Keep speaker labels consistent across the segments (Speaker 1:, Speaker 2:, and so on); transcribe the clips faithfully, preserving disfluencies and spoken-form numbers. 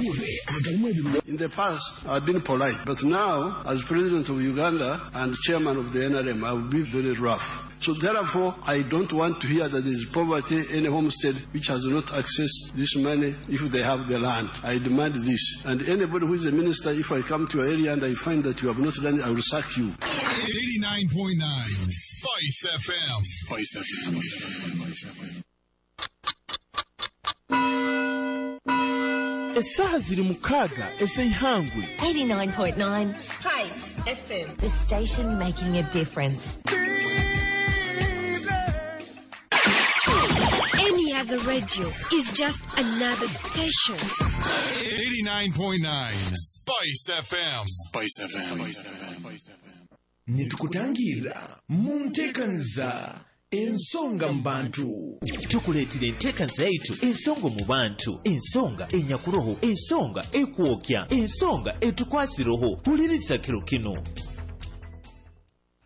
Speaker 1: Amahurre agalimu ebirungi.
Speaker 2: In the past, I've been polite, but now, as president of Uganda and chairman of the N R M, I will be very rough. So therefore, I don't want to hear that there is poverty in a homestead which has not accessed this money if they have the land. I demand this. And anybody who is a minister, if I come to your area and I find that you have not done it, I will sack you.
Speaker 3: eighty-nine point nine Spice F M. Spice F M.
Speaker 4: Essaaha ziri mukaaga ez'eihangwe.
Speaker 5: eighty-nine point nine
Speaker 6: Spice F M.
Speaker 5: The station making a difference.
Speaker 7: Any other radio is just another station.
Speaker 3: eighty-nine point nine Spice F M. Spice F M.
Speaker 4: Nitukutangira mu nteekaniza Ensonga mu Bantu.
Speaker 8: Tukuleetera enteekaniza yaitu Ensonga mu Bantu, ensonga enyakuroho, ensonga ekwokya, ensonga etukwasiroho. Huliriza kiro kino.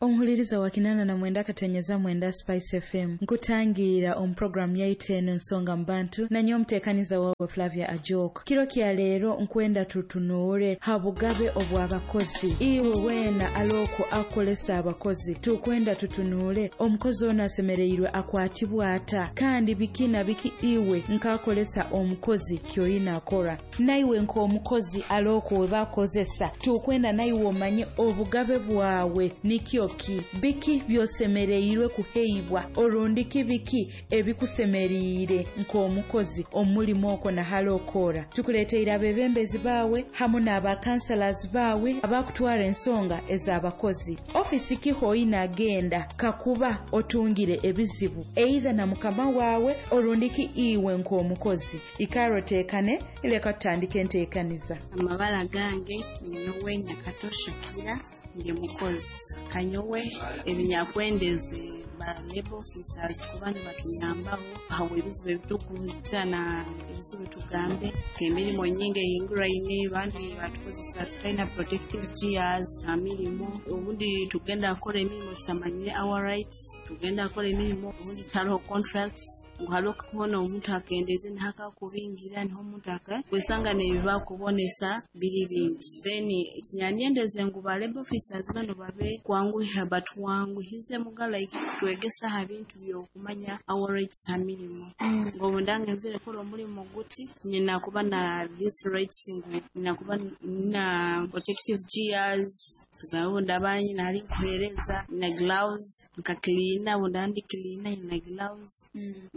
Speaker 9: Omuhuliriza wa kinana na mwenda katonyeza mwenda Spice F M, nkutangira omu programu yaitu eno Ensonga mu Bantu, nanye omuteekaniza wawe Flavia Ajok. Kiro kya leero nkwenda tutunuure ha bugabe obw'abakozi. Iwe weena aloko akolesa abakozi, tukwenda tutunuule omukozi ono asemereirwe akwatibwa ata, kandi biki na biki iwe nkakolesa omukozi kyoyina akora. Naiwe nk'omukozi aloko we bakozesa, tukwenda naiwe omanye obugabe bwawe nikyo ki, biki byosemereirwe kuheibwa, orundiki biki ebikusemeriire nk'omukozi omulimu okwo nahali okora. Tukuleteire abebembezi baawe hamu n'abakansalas baawe abakutwara ensonga ez'abakozi. Ofisi kihoina agenda kakuba otungire ebizibu either na mukama waawe orundiki iwe nk'omukozi. Ikaro teekane, leka tutandike enteekaniza.
Speaker 10: Amabara gange ninyowe Nyakato Shakira, ndi mukozi. Kanyowe ebinyakwendeze ba labor officers kuba nibatuyambaho aho ebizibu ebitukuhita na ebizibu tugambe emirimu nyingi eyinguraine, bandi batukozesa tutalina protective gears ha mirimo, obundi tugenda kukora emirimu tutamanyire our rights, tugenda kukora emirimu obundi tihariho contracts, ngu hariho kubona omuntu akendeze niho akakubingira, niho omuntu aka kwesanga nebibakubonesa biri bingi. Then kinyanyendeze ngu ba labor officers bano babe kwanguha, batwanguhize muga like kutwegesa aha bintu byokumanya our rights ha mirimo, ngu obu ndangenzere kukora omurimo guti nyina kuba na this rights, ngu nyina kuba na protective gears, tugambe obu ndaba nyina hari nkuhereza na gloves nka cleaner, obu ndaba ndi cleaner nyina gloves.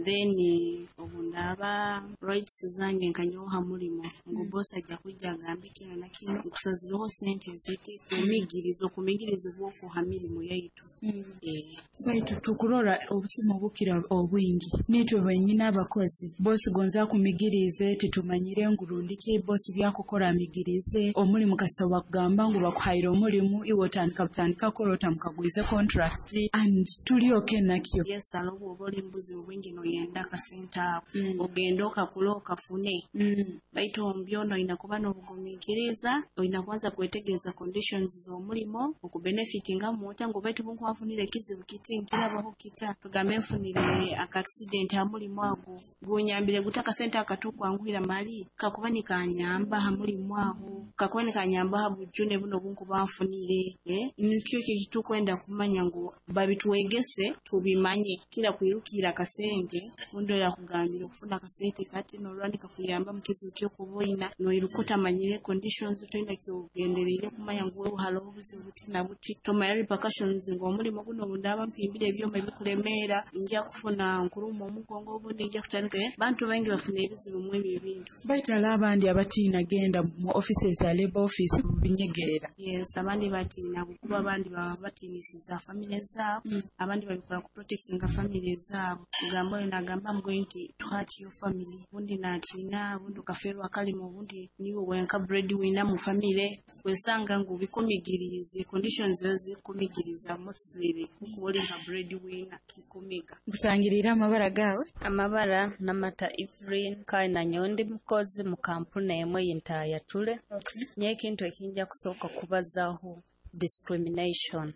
Speaker 10: Then obu ndaba rights zange nkanyowe ha murimo, ngu boss ajja kwijja agambe kino na kino, nkusazireho sente ziti, kumigiriza okumigirizibwa okwo ha mirimo yaitu. Eh.
Speaker 11: Baitu tukurora obusuma obukira obwingi nitwe benyini abakozi. Bosi gonza akumigirize, titumanyire ngu rundiki bosi byakukora amigirize omulimu. Kasaba kugamba ngu bakuhaire omulimu, iwe otandika butandika kukora otamukagwize contract and tulyoke nakyo.
Speaker 10: Yes, hariho obwoba oli mu buzibu bwingi noyenda akasente ako, ogende okakule okafune, baitu omu byona oyina kuba n'obugumiikiriza, oyina kubanza kwetegereza conditions z'omulimo okubenefitingamu ota, ngu baitu bunkuba nfunire ekizibu kiti nkirabaho kita, tugambe nfunire aka accident ha mulimu ago, gunyambire guta akasente akatukwanguhira mali kakuba nikanyamba ha mulimu aho, kakuba nikanyamba ha bujune buno bunkuba nfunire, eh? Nikyo ekyo ekitukwenda kumanya ngu babitwegese tubimanye, kira kwirukira akasente. Ondi yakugambire okufuna akasente kati norwa nikakuyamba mu kizibu kyokuba oyina, noiruka otamanyire conditions, toyina kyogendereire kumanya ngu wewe hariho obuzibu buti na buti, tomanya repercussions ngu omulimo guno obundaba mpimbire ebyoma ebikulemeera nja kufuna nkuruma omugongo, obundi nja kutandika, eh? Bantu baingi bafuna ebizibu mu ebyo ebintu.
Speaker 11: Baitu hariho abandi abatiina genda mu offices za labor office binyegerera.
Speaker 10: Yes, abandi batiina kuba abandi baba batiinisiza family zaabo, abandi babikora ku protectinga family zaabo, kugamba oyo nagamba, "I'm going to, to hurt your family." Obundi natiina, obundi okaferwa akalimo, obundi niwe wenka breadwinner mu family, wesanga ngu bikumigirize, conditions ezo zikumigiriza mostly kukuba oli nka breadwinner kikumiga.
Speaker 11: Nkutangirira amabara gawe.
Speaker 12: Amabara Namata Evelyn, kandi nanyowe ndi mukozi mu kampuni emwe yintayatule. Nyewe ekintu ekinja kusooka kubazaho, discrimination.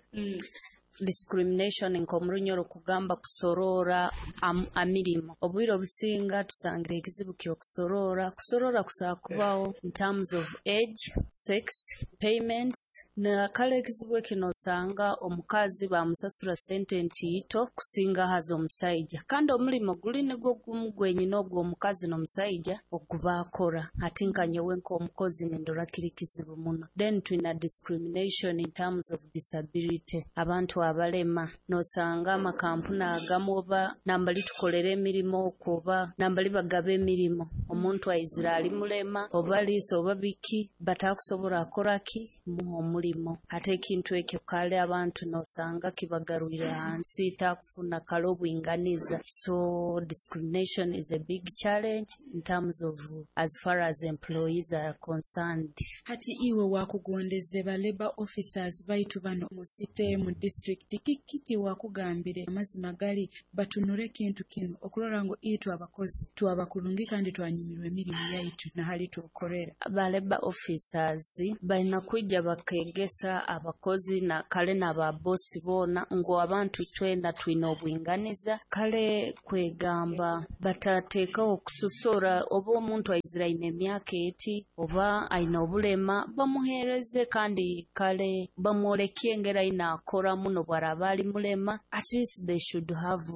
Speaker 12: Discrimination nk'omurunyoro kugamba kusorora am, amirimo. Obwire obusinga tusangira ekizibu ky'okusorora. Kusorora kusobola kubaho in terms of age, sex, payments. Na kale ekizibu eki nosanga omukazi bamusasura sente ntiito kusinga haza omusaija. Kandi omulimo guli nigwo gumu gwenyine ogwo omukazi n'omusaija ogubakora. Ati nka nyowe nk'omukozi nindora kiri kizibu muno. Then twina discrimination in terms of disability. Abantu abalema nosanga amakampuni agamu oba nambali tukolera emirimo okwo oba nambali bagaba emirimo, omuntu aizira ali mulema oba liiso oba biki batakusobola akoraki muha omulimo. Ate ekintu ekyo kale abantu nosanga kibagarwire hansi takufuna kale obwinganiza. So discrimination is a big challenge in terms of as far as employees are concerned.
Speaker 11: Hati iwe wakugondeze ba labor officers baitu bano mu city, mu district, kiki wakugambire amazima gali batunure ekintu kinu okurora ngu itwe abakozi twaba kurungi kandi twanyumirwa emirimu yaitu nahali tukorera?
Speaker 12: Ba labor officers balina kwijja bakegesa abakozi na kale n'ababosi boona ngu abantu twena twine obwinganiza. Kale kwegamba batateekaho kususura oba omuntu aizira aine emyaka eti oba aine obulema bamuheereze, kandi kale bamwolekie engeri aine akora muno bwaraba ali mulema. At least they should have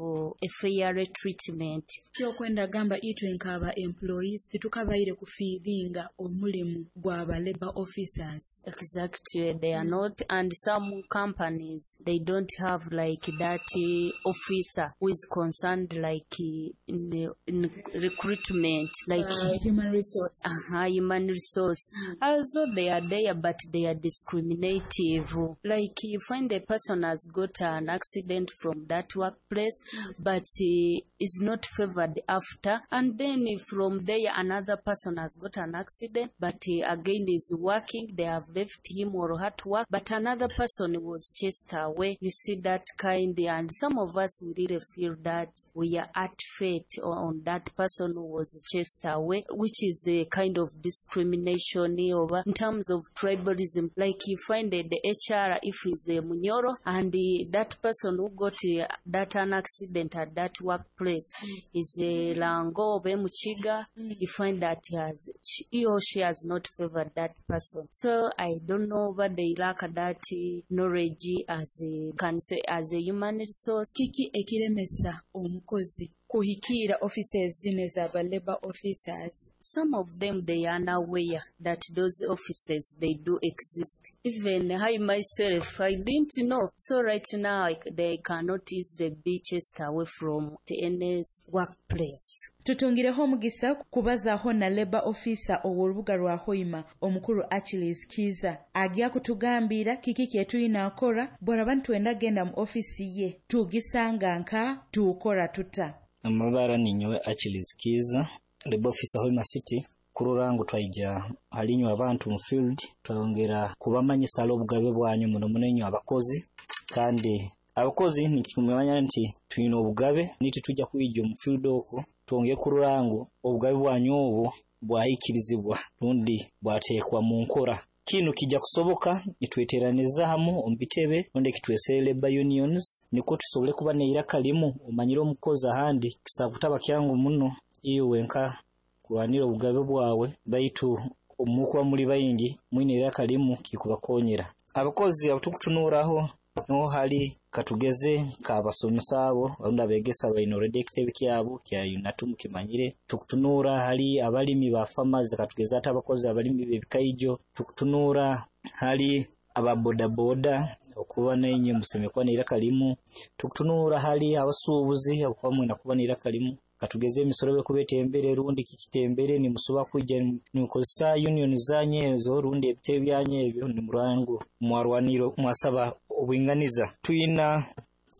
Speaker 12: a fair treatment.
Speaker 11: Kyokwenda gamba itwe nk'aba employees titukabaire kufiiringa omulimu gw'aba labor officers.
Speaker 12: Exactly, they are not, and some companies they don't have like that uh, officer who is concerned like uh, in, in recruitment, like
Speaker 11: uh, human resource.
Speaker 12: Uh-huh, human resource. Mm. Also they are there, but they are discriminative. Like you find a person has got an accident from that workplace, mm. but uh, is not favored after, and then from there another person has got an accident, but uh, again is working. They have left him or her to work, but another person was chased away. You see that kind, and some of us we really feel that we are at fate on that person who was chased away, which is a kind of discrimination over in terms of tribalism. Like you find that the H R, if he's a Munyoro, and the, that person who got uh, that an accident at that workplace mm. is a Lango or Muchiga, mm. you find that he has he or she has not favored that person. So I don't know but they lack that knowledge as a can say as a human resource.
Speaker 11: Kiki ekiremesa omukozi kuhikira offices zino z'aba labor officers?
Speaker 12: Some of them they are unaware that those offices they do exist. Even I myself, I didn't know. So right now they cannot easily be chased away from the N S workplace.
Speaker 9: Tutungireho omugisa kubazaaho na labor officer ow'orubuga rwa Hoima omukuru Achilles Kiza agya kutugambira kiki kyetulina akora bwaraba nitwenda genda mu ofisi ye tugisanga nka tukora tuta.
Speaker 1: Amabara ninyowe Achilles Kiza, labor officer Hoima City. Kurora ngu twaija halinywa abantu mu field twongera kubamanyisa obugabe bwanyu muno muno inywe abakozi, kandi abakozi nikikumanya nti twine obugabe niti tujja kwijja mu field okwo twongere kurora ngu obugabe bwanyu obwo bwahikirizibwa rundi bwateekwa mu nkora. Kino kijja kusoboka nitweteraniza hamu omu bitebe rundi kitwesere labor unions niko tusobole kuba neiraka limu. Omanyire omukozi ahandi kisakutaba kyangu muno iwe nka kurwanira obugabe bwawe, baitu omukuba muri bayingi mwine iraka limu kikubakonyera. Abakozi abatukutunuraho no hali katugeze kabasomesa abo rundi abegesa baino already ekitebe kyabo kya UNATU mukimanyire. Tukutunura hali abalimi ba farmers, katugeze ate abakozi abalimi b'ebikaijo. Tukutunura hali ababodaboda okuba nainye musemekwa n'iraka limu. Tukutunura hali abasuubuzi okuba mwina kuba n'iraka limu. Katugeze emisoro bekubetembere rundi kikitembere ni musoba kwijja nimukozesa union zanye ezo rundi ebitebe byanye ebyo ni murango mwarwaniro mwasaba obwinganiza. Tuyina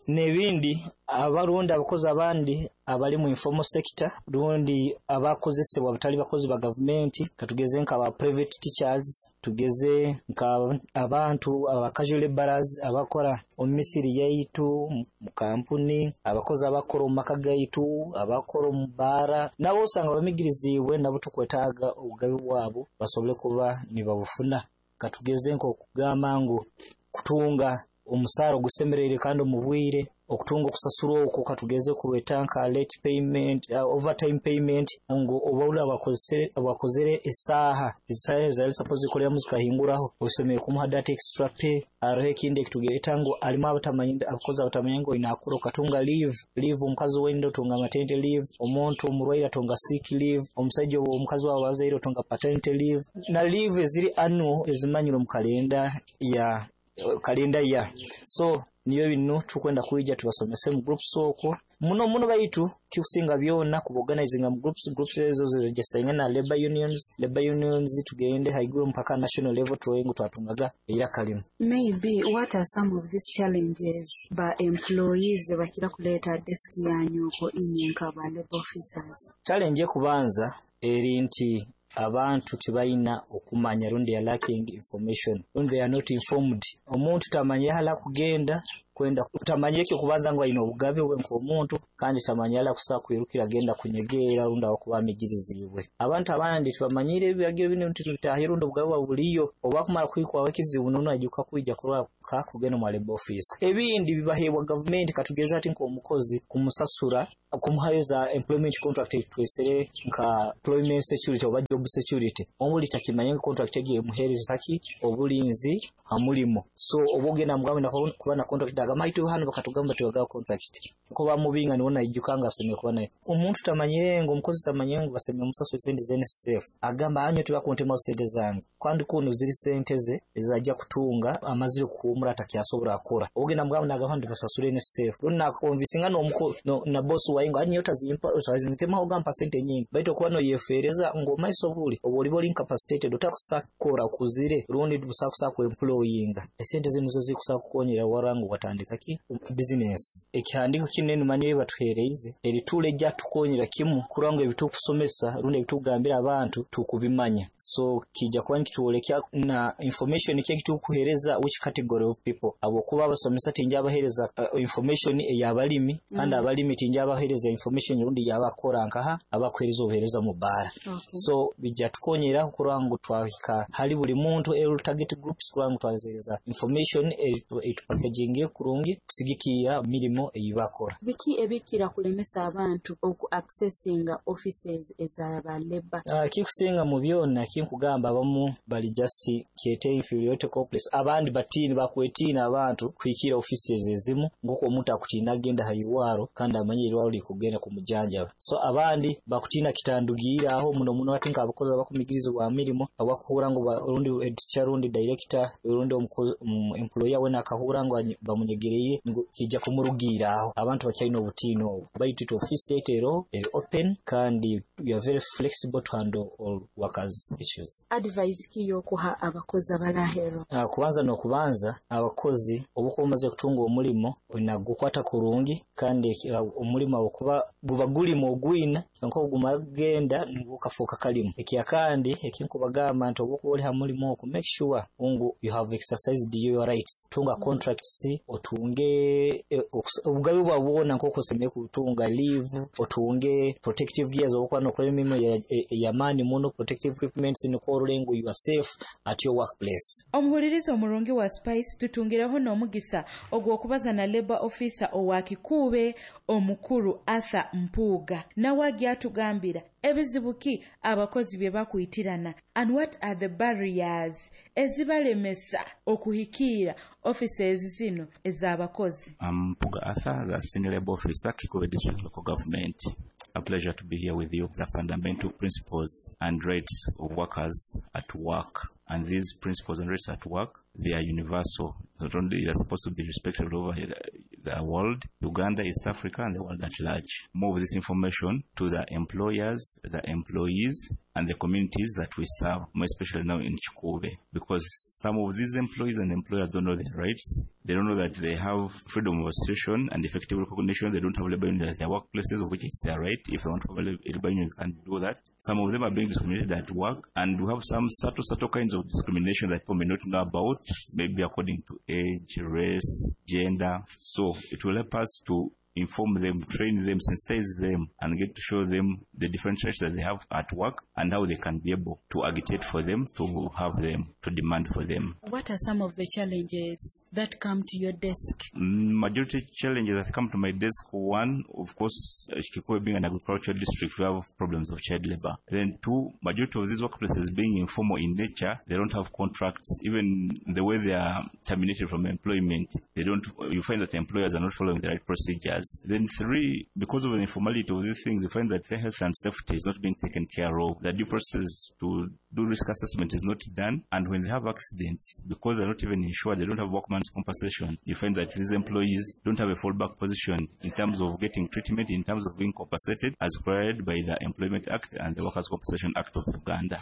Speaker 1: n'ebindi abarundi abakozi abandi abali mu informal sector rundi abakozesebwa batali bakozi ba gavumenti, katugeze nka aba private teachers, tugeze nka abantu aba casual laborers abakora omu misiri yaitu mu kampuni, abakozi abakora omu maka gaitu, abakora omu baara, nabo osanga bamigiriziibwe nabo tukwetaaga obugabe bwabo basobole kuba nibabufuna. Katugeze nk'okugamba ngu kutunga Omusaara ogusemereire kandi omu bwire, okutunga okusasurwa okwo katugeze kurweta nka late payment, uh, overtime payment, ngu oba abakozesere abakozere esaaha esaaha ezali suppose kukoleramu zikahinguraho, osemere kumuha that extra pay. Hariho ekindi ekitugereta ngu alimu abatamanyi, abakozi abatamanyi ngu oyina akura okatunga leave leave omukazi wenda otunga maternity leave, omuntu omurwaire atunga sick leave, omusajja omukazi wawe azaire otunga paternity leave, na leave eziri annual ezimanyirwe mu kalenda ya kalenda ya. So niyo bino tukwenda kwija tubasomese mu groups okwo muno muno, baitu kikusinga byona kuba-organizinga mu groups. Groups ezo ziregistaringa na labor unions labor unions tugende haiguru mpaka national level, turole ngu twatungaga eiraka limu.
Speaker 11: Maybe what are some of these challenges ba employees bakira kuleeta desk yanyu okwo inye nka ba labor officers?
Speaker 1: Challenge ekubanza eri nti abantu tibalina okumanya, rundi they are lacking information, rundi they are not informed. Omuntu tamanyire hala kugenda kwenda, tamanyire ekyo kubanza ngu ayina obugabe bwe nk'omuntu, kandi tamanyire hala kusobola kwirukira agenda kunyegeera rundi abakuba amigiriziibwe. Abantu abandi tibamanyire ebiragiro bino nti bitaahi rundi obugabe bwa buliyo. Oba kumara kwikwaho ekizibu, nono ajuka kwija kurora kugenda mu labor office. Ebindi bibaheebwa gavumenti, katugeze ati nk'omukozi kumusasura, kumuhayo za employment contract, twesere nka employment security oba job security. Omuli takimanye ngu contract egi emuheereza ki obulinzi ha mulimo. So oba ogenda mugambe kuba na contract, agamba itu hano bakatugamba tibagawa contract, ko bamubinga niwo naijuka nga asemere kuba nayo. Omuntu tamanyire ngu omukozi tamanyire ngu basemere musasura sente za N S S F, agamba anyo tibakuntemaho sente zange, kandi kuno ziri sente ze ezajja kutunga amazire kuhumura atakyasobora akora. Ogenda mugamba, nagamba ndi basasure N S S F, rundi nakonvinsinga n'omuko no, na boss wawe ngo anyo tazimpa, otazintemaho, gampa sente nyingi. Baitu okuba noyefeereza ng'omaiso buli oba oliba oli incapacitated, otakusakora okuzire rundi busakusa ku employinga, esente zino zo zikusa kukonyera wara ngu watandika ki business. Ekihandiko kinene manyi batuhereize erituula ejja tukonyera kimu kurora ngu ebitukusomesa rundi ebitugambira abantu tukubimanya. So kijja kuba nikitwolekya na information ki ekitukuhereza which category of people, habwokuba abasomesa tinja abahereza uh, information ey'abalimi, kandi mm. abalimi tinja abahereza information rundi yabakora nkaha abakuhereza obuhereza mu bara.
Speaker 11: Okay.
Speaker 1: So bijja tukonyera kurora ngu twahika hali buli muntu, ero target groups, kurora ngu twazereza information etupackaging kurungi kusigikiira mirimo eyibakora.
Speaker 11: Biki ebikira kulemesa abantu oku accessinga offices ezaba labor?
Speaker 1: Uh, kikusinga mu byona kinkugamba, abamu bali just kyete inferiority complex, abandi batiini, bakwetiina abantu kuhikira offices ezimu, ng'oku omuntu akutiina agenda ha irwaro kandi amanye irwaro likugenda kumujanjaba. So abandi bakutiina kitandugiira aho muno muno ati nk'abakozi abakumigirizibwa mirimo, abakuhura ngu rundi teacher rundi director rundi um, employer we nakahura ngu bamunyegereye ngu kijja kumurugiira aho. Abantu bakyalina obutiini obwo, baitu itu office yaitu ero eri open kandi we are very flexible to handle all workers issues.
Speaker 11: Advice ki yokuha abakozi abalahero?
Speaker 1: Uh, kubanza n'okubanza, abakozi obukuba omaze kutunga omulimo olina gukwata kurungi, kandi uh, omulimo okuba guba gulimu ogwina nko gumara kugenda gukafuuka kalimu. Ekyakandi ekinkubagamba nti obukuba oli ha mulimu okwo, make sure ngu you have exercised your rights, tunga contracts, otunge eh, obugabe bwa bwona nk'oku osemere kutunga leave, otunge protective gears obukuba nokola emirimu ey'amaani muno, protective equipments, nikwo orole ngu you are safe at your workplace.
Speaker 9: Omuhuliriza omurungi wa Spice, tutungireho n'omugisa ogw'okubaza na labor officer owa Kikuube, omukuru Arthur Mpuuga, nawe agyatugambira ebizibu ki abakozi bye bakwitirana and what are the barriers ezibalemesa okuhikiira offices zino ez'abakozi.
Speaker 6: I'm Mpuuga Arthur, the Senior Labor Officer, Kikuube District Local Government. A pleasure to be here with you. The fundamental principles and rights of workers at work. And these principles and rights at work, they are universal. It's not only they are supposed to be respected all over the world, Uganda, East Africa, and the world at large. More of this information to the employers, the employees, and the communities that we serve, more especially now in Kikuube, because some of these employees and employers don't know their rights. They don't know that they have freedom of association and effective recognition. They don't have labor unions at their workplaces, of which is their right. If they want to have a labor union, they can do that. Some of them are being discriminated at work, and we have some subtle, subtle kinds of discrimination that people may not know about, maybe according to age, race, gender. So it will help us to inform them, train them, sensitize them, and get to show them the different rights that they have at work and how they can be able to agitate for them, to have them, to demand for them.
Speaker 11: What are some of the challenges that come to your desk?
Speaker 6: Majority challenges that come to my desk, one, of course, Kikuube being an agricultural district, we have problems of child labor. Then two, majority of these workplaces being informal in nature, they don't have contracts. Even the way they are terminated from employment, they don't. You find that the employers are not following the right procedures. Then three, because of the informality of these things, you find that their health and safety is not being taken care of. The due process to do risk assessment is not done. And when they have accidents, because they're not even insured, they don't have workman's compensation, you find that these employees don't have a fallback position in terms of getting treatment, in terms of being compensated as required by the Employment Act and the Workers' Compensation Act of Uganda.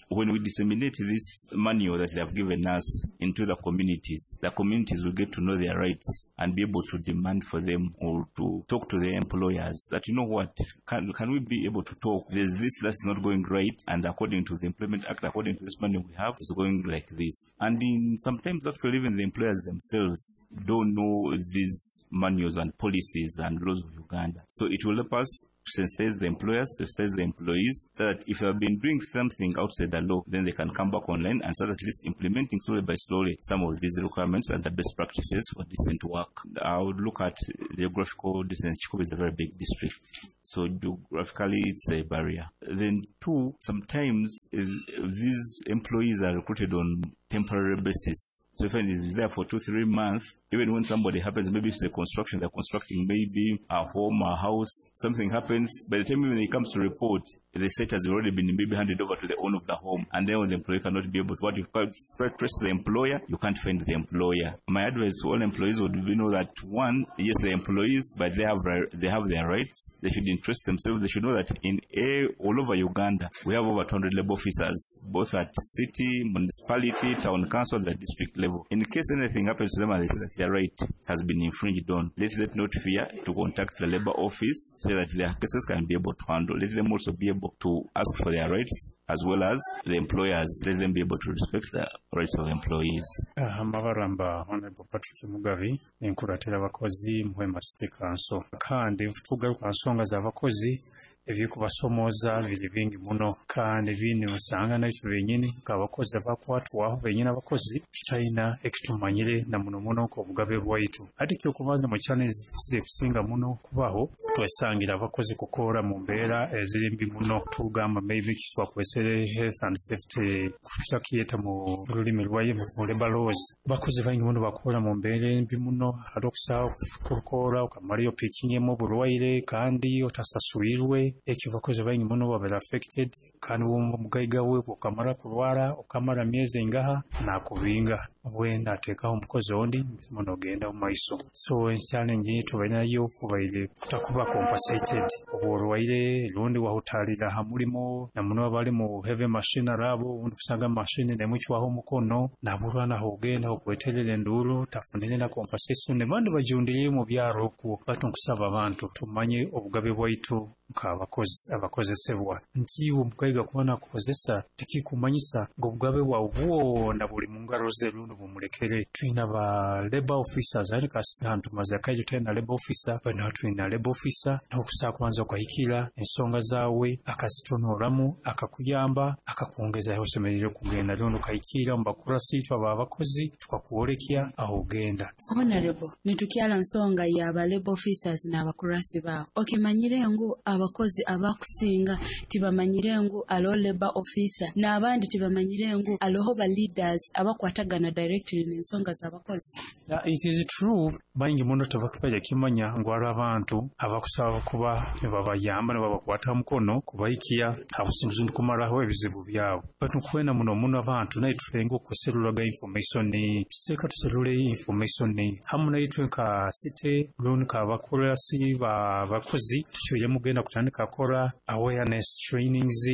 Speaker 6: When we disseminate this manual that they have given us into the communities, the communities will get to know their rights and be able to demand for them or to talk to their employers that, you know what, can, can we be able to talk? There's this that's not going right, and according to the Employment Act, according to this manual we have, it's going like this. And in sometimes actually even the employers themselves don't know these manuals and policies and laws of Uganda. So it will help us sensitize the employers, sensitize the employees, so that if they have been doing something outside the law, then they can come back online and start at least implementing slowly by slowly some of these requirements and the best practices for decent work. I would look at geographical distance. Kikuube is a very big district, so geographically it's a barrier. Then two, sometimes these employees are recruited on temporary basis. So if it's there for two, three months, even when somebody happens, maybe it's a construction, they're constructing maybe a home, a house, something happens, by the time even it comes to report, the site has already been maybe handed over to the owner of the home, and then the employee cannot be able to, what you try to trace the employer, you can't find the employer. My advice to all employees would be know that one, yes, they're employees, but they have they have their rights. They should interest themselves. They should know that in a, all over Uganda, we have over two hundred labor officers, both at city, municipality, town council, the district level. In case anything happens to them and they say that their right has been infringed on, let them not fear to contact the labor office so that their cases can be able to handle. Let them also be able to ask for their rights, as well as the employers. Let them be able to respect the rights of employees.
Speaker 13: Amabaramba Honorable Patrick Mugabi enkuratira abakozi Muhwema City Council, kandi tugaruka nsonga z'abakozi ebyekubasomoza biri bingi muno, kandi bini usanga naitwe benyini nk'abakozi abakwatwaho benyini abakozi tutalina ekitumanyire na muno muno nk'obugabe bwaitu. Ate ekyokubanza mu challenge zikusinga muno kubaho twesangira abakozi kukora mu mbeera eziri mbi muno, tugamba maybe kitwakwesere health and safety kutakiyeta mu lulimi lwaye mu labor laws. Bakozi baingi muno bakora mu mbeera embi muno, hari okusaho kukora okamarayo pikinyemu oburwaire kandi otasaswirwe. Ekyo bakozi baingi muno babera affected, kandi omugaiga we okamara kurwara okamara myezi engaha nakubinga bwenda ateekaho omukozi ondi muno ogenda mu maiso. So challenge tubainayo kubaire kutakuba compensated oburwaire rundi wahutalira ha mulimo na muno abali mu heavy machinery abo undi kusanga machine nemuchwaho omukono naburwa naho ogenda okweterera enduru tafunire na compensation ne bandi bajundiriye mu byaro okwo. Batu nkusaba abantu tumanye obugabe bwaitu nk'abakozi abakozesebwa nti omukaiga kubona kukozesa tikikumanyisa ng'obugabe bwawe bwona buli mu ngaro ze rundi bumulekere. Twina ba labor officers ari kasi tumaze akaije twina labor officer bano twina labor officer n'okusaa kubanza okahikira ensonga zaawe akazitonoramu akakuyamba akakwongeza aho osemereire kugenda rundi okahikira mu bakurasi itwe aba abakozi tukakwolekya aho ogenda.
Speaker 11: Honorable, nitukyala nsonga ya ba labor officers n'abakurasi baawe, okimanyire ngu abakozi abakusinga tibamanyire ngu aloho labor officer n'abandi tibamanyire ngu aloho ba leaders abakwatagana directly n'ensonga z'abakozi?
Speaker 13: Yeah, it is true baingi muno tebakufaire kimanya ngu hariho abantu abakusaba kuba nibabayamba nibabakwata mukono kubahikiya abusinzi kumaraho ebizibu byabo. But nkwena muno muno abantu naye tulenga okuserulaga information, tuteeka tuserule information hamu naitwe nka city rundi nka abakurasi bakozi tucwire mugenda kutandika kora awareness trainings,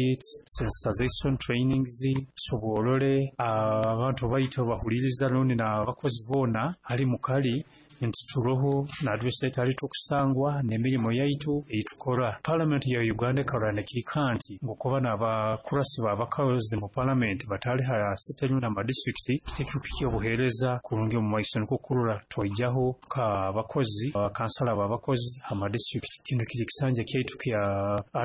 Speaker 13: sensitization trainings, tusobolole abantu baitu bahulire abakutuhuliriza rundi n'abakozi boona ali mukali nti turoho na address yaitu ali tukusangwa n'emirimu yaitu eitukora. Parliament ya Uganda ekarora nekiika nti ngokuba n'abakurasi b'abakozi mu parliament batali ha city rundi ama district kitekikuhikya obuheereza kurungi omu maiso, nikwo kurora twaijaho k'abakozi abakansala b'abakozi ama district. Kino kiri kisanja kyaitu kya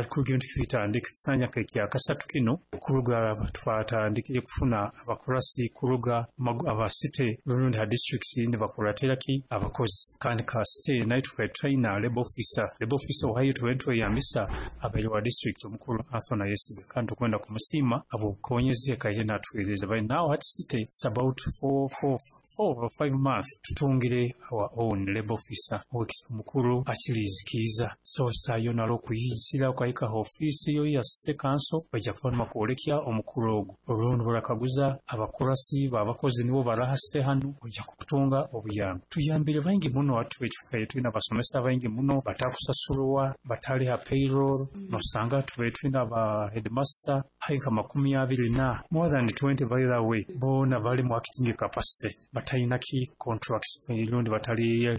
Speaker 13: kuruga nti kitandika kisanja kya kasatu kino kuruga twatandikire kufuna abakurasi kuruga aba city rundi ha districts nibakuratira ki abakozi. Kandi ka city naitwe trainer labor officer labor officer ohayo tweyambisa abaire wa district omukuru Anthony Yesibe, kandi tukwenda kumusiima abukonyezi ekaire natwereza. By now at city it's about four, four, four or five months tutungire our own labor officer omukuru akirizikiza. So sayo nalo kuyisira okahika ofisi yo ya city council bajja kuba nibakwolekya omukuru ogwo orundi barakaguza abakurasi babakozi nibo baraha city hanu ojja kukutunga obuyambi. Tuyambire baingi muno atu ekifuka tulina abasomesa baingi muno batakusasulwa batali ha payroll, nosanga tube tulina ba headmaster haika makumi abiri na more than twenty by the way bona bali mu acting capacity batalina ki contracts rundi batali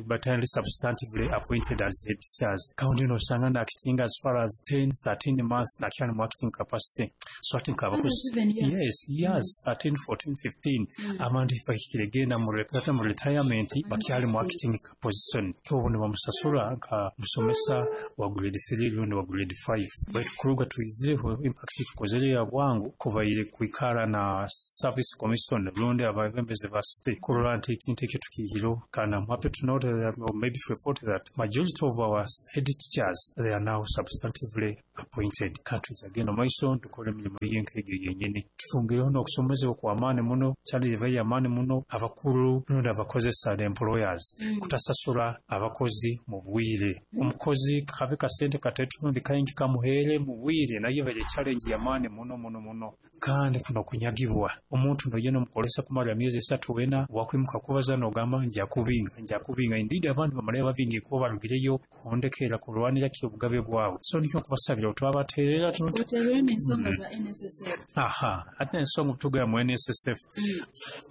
Speaker 13: batali substantively appointed as head teachers. Kaundi nosanga na acting as far as ten thirteen months nakyali mu acting capacity. So I think abakozi yes years thirteen fourteen fifteen abantu bahikire genda mu mu retirement bakyali mu acting position obu nibamusasula nka musomesa wa grade three rundi wa grade five. Baitu kuruga tuizireho impact tukozere ya bwangu kubaire kwikara na service commission rundi ababembezi ba city kurora nti ekintu ekyo tukihiro. Kandi I'm happy to note that, or maybe to report that majority of our head teachers they are now substantively appointed. Kandi tugenda maiso tukore emirimu y'enkege yenyini tutungireho n'okusomezebwa kw'amaani muno challenge eva y'amaani muno abakuru rundi abakozesa the employers mm. kutasasula abakozi mu bwire. mm. Omukozi kabe kasente katetu kaingi kamuhere mu bwire naye bali challenge y'amaani muno muno muno. Kandi kuno kunyagibwa omuntu nogenda omukolesa kumara emyezi esatu wena wakwimuka kubaza nogamba nja kubinga nja kubinga. Indeed abantu bamale babingi kuba barugireyo kuhondekera kulwanira ki obugabe bwabo. So nikyo kubasabira twabaterera
Speaker 11: tuterere n'ensonga za N S S F.
Speaker 13: Aha, ate ensonga tuga mu N S S F. Mm.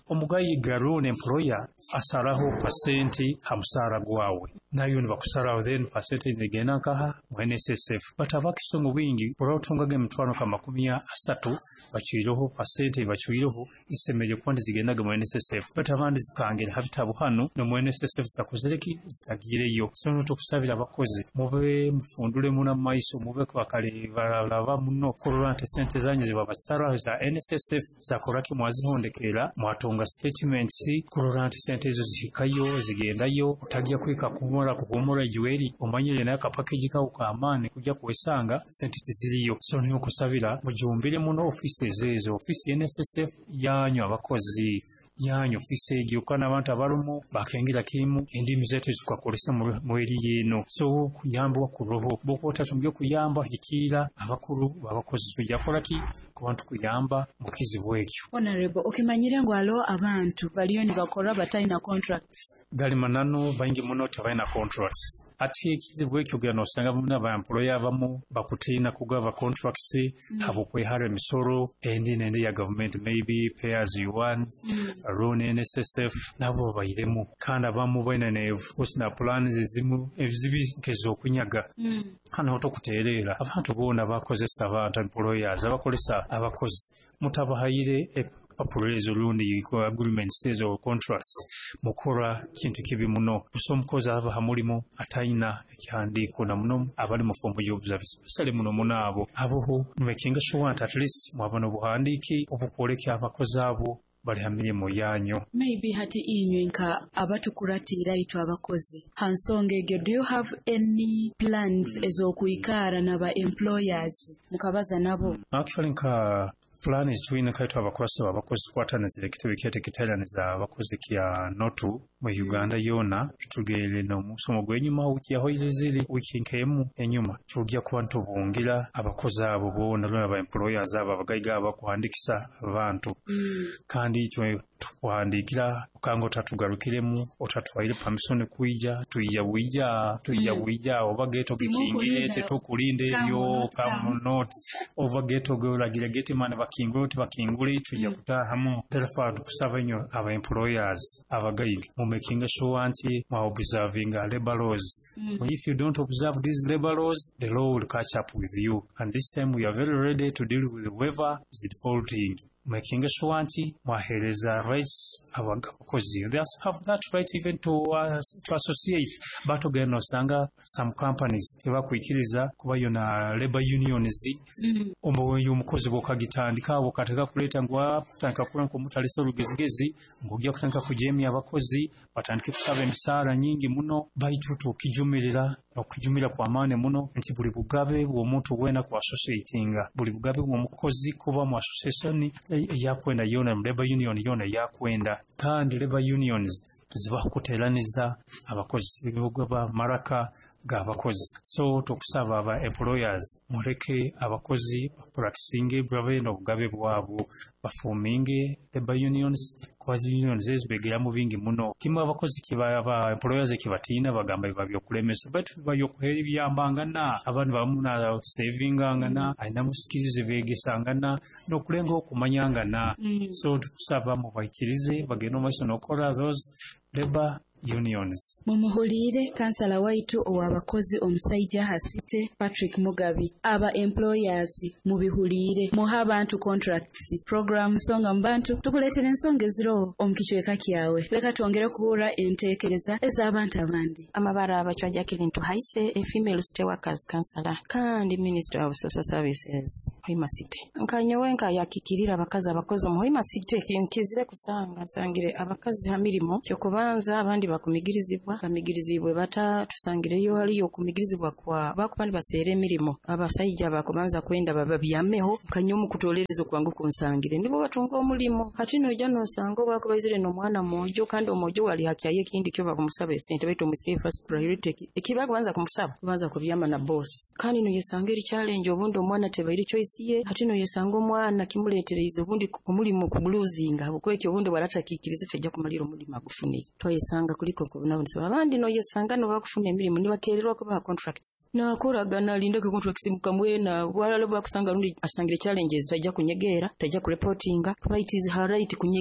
Speaker 13: Omugayi garone employer asaraho pasenti ha musara gwawe nayo nibakusaraho then percentage negenda nkaha mu N S S F. But abakisongo wingi orotungaga emitwaro ka makumi asatu baciireho pasenti baciireho isemeje kuba zigendaga mu N S S F. But abandi zikangera habitabu hano no mu N S S F zitakozereki zitagireyo. So tukusabira abakozi mube mufundule muna maiso mube bakale baralaba muno kurora nti sente zanyu zibabatsara za N S S F zakoraki mwazihondekera mwatonga statements kurora nti sente ezo zihikayo zigendayo utagiya kwika kumora kuhumura juweri omanyire nayo ka package kawo kaamaani kujja kuwesanga sente teziriyo. So niyo kusabira mujumbire muno offices ezo office N S S F yanyu abakozi yanyu office egyo kana abantu abarumu bakengira kimu endimi zetu zikwakolesa mu eri yeno. So kuyambwa kuroho bokota tumbyo kuyamba hikira abakuru babakozi tujja kola ki kubantu kuyamba mukizibu ekyo.
Speaker 11: Honorable okimanyire ngo alo abantu baliyo nibakora batalina contracts
Speaker 13: gali manano baingi muno tebalina contracts. Ate ekizibu ekyo gano osanga bamwe aba employer abamu bakutiina kugaba contracts mm. habukwehara emisoro endi n'endi ya government maybe pay as you earn mm. loan N S S F nabo bayiremu. Kandi abamu balina ne of na plans ezimu ebizibi nk'ez'okunyaga mm. kandi otokuteerera abantu boona bakozesa abantu employers abakolesa abakozi mutabahayire papuro ezo rundi agreements ezo contracts mukora kintu kibi muno. Buso omukozi ava ha mulimu atayina ekihandiiko na muno abali mu form job service especially muno muno abo aboho making sure at least mwaba n'obuhandiiki obukwoleka abakozi abo bali ha mirimu yanyu.
Speaker 11: Maybe hati inywe nka abatukuratira itwe abakozi ha nsonga egyo, do you have any plans ez'okwikara n'aba employers mukabaza nabo?
Speaker 13: Actually nka plan is twina kaitu abakozi abakozi kwatanizire ekitebe kyetekiteraniza abakozi kya notu mu Uganda yona tugere no musomo gwenyuma wiki yahoire ziri wiki nkemu enyuma tujja kuba ntubungira abakozi abo bona lona ba employers abo abagaiga abakuhandikisa abantu mm. Kandi itwe Tukuhandikira okanga otatugarukiremu, otatwaire permission kwija, twija bwija, twija
Speaker 11: Mm.
Speaker 13: bwija oba gate ogikingire
Speaker 11: Timukulinda.
Speaker 13: tetukulinda
Speaker 11: Come
Speaker 13: ebyo
Speaker 11: or not
Speaker 13: come or not, oba gate ogolagire gate man bakingule tibakingule, twija kutahamu. Therefore tukusaba inyo aba employers abagaiga mu making sure nti mwa observinga labor laws.
Speaker 11: Mm.
Speaker 13: If you don't observe these labor laws, the law will catch up with you, and this time we are very ready to deal with whoever is defaulting, making sure nti mwahereza rights abakozi. They have that right even to, uh, to associate, but ogenda osanga some companies tebakwikiriza kuba yona labor unions.
Speaker 11: Mm.
Speaker 13: Oyo omukozi bwokagitandika awo kateka kuleeta ngu atandika kuba nkomutalisa olugezigezi ng'ojja kutandika kujeemya abakozi batandike kusaba emisaala nyingi muno. Baitu tukijumirira okujumira kwamaani muno nti buli bugabe bw'omuntu weena ku associatinga, buli bugabe bw'omukozi kuba mu association eyakwenda yona, mu labor union yona eyakwenda. Kandi labor unions zibaho kuteeraniza abakozi, ebigaba maraka g'abakozi. So tukusaba aba employers muleke abakozi bapracticinge, babe n'obugabe bwabo, baforminge labor unions, kuba unions ezo begeramu bingi muno. Kimu abakozi kiba aba employers ekibatiina, bagamba biba byokulemesa, baitu biba byokuhera ebyambangana, abantu bamu nasavingangana, alinamu skills begesangana n'okulenga okumanyangana.
Speaker 11: Mm.
Speaker 13: So tukusaba mubaikirize bagende omumaiso n'okola those labor unions.
Speaker 11: Mumuhuliire kansala waitu ow'abakozi omusaija Hasite Patrick Mugabi. Aba employers mubihuliire, muhe abantu contracts. Program Nsonga mu Bantu tukuleetera ensonga eziroho omu kicweka kyawe. Leka twongere kuhurra enteekereza ez'abantu abandi.
Speaker 14: Amabara Abachwa Jacqueline Tuhaise, a female state workers councillor kandi minister of social services Hoima City. Nkanyowe nkayakikirira abakazi abakozi omu Hoima City, nkizire kusanga nsangire abakazi ha mirimo. Kyokubanza abandi bakumigirizibwa, bamigirizibwe bata? Tusangireyo haliyo okumigirizibwa kwa bakuba nibaseera emirimo, abasaija bakubanza kwenda bababyameho. Nkanye omukutolereza okwangu kunsangire nibo batunga omulimo. Hati noija nosanga obwakubaizire n'omwana mwojo, kandi omwojo wali hakyayo ekindi kyo bakumusaba esente, baitu omusike first priority ekibakubanza kumusaba kubanza kubyama na boss. Kandi noyesanga eri challenge, obundi omwana tebaire choice ye. Hati noyesanga omwana kimuletereize obundi omulimu kuguluzinga, habwokwekyo obundi waratakikirize tejja kumalira omulimu agufunire. Twayesanga kuliko nkobonabonesa abandi. Noyesanga nobakufuna emirimu nibakererwa kubaha contracts, nakoragana alindeko contracts mukamwena walala bakusanga rundi asangire challenges, tajja kunyegeera, tajja kureportinga kuba it is her right kunyegera.